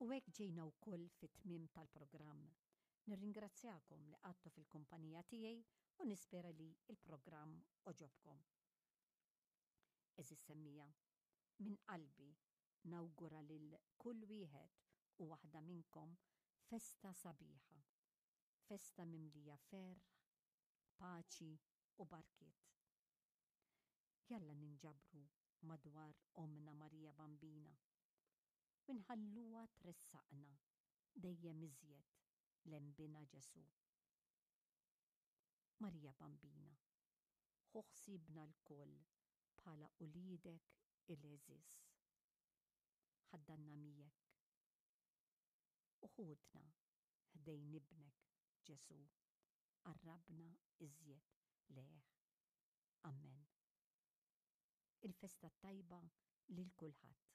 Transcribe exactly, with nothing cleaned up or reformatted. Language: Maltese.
U hekk ġejna wkoll fit-tmiem tal-programm. Nirringrazzjakom li qgħadtu fil-kumpanija tiegħi u nispera li il-programm għoġobkom. Għeżież semmiegħa, minn qalbi nawgura lil kull wieħed u waħda minnkom festa sabiħa, festa mimlija ferħ, paċi u barkiet. Jalla ninġabru madwar Ommna Marija Bambina u nħalluha tressaqna dejjem iżjed lejn Binha Ġesù. Marija Bambina, ħu ħsiebna lkoll bħala uliedek il-għeżież. Ħaddanna miegħek u ħudna ħdejn ibnek Ġesù, qarrabna iżjed lejh. Amen. Il-festa tajba lil kulħadd.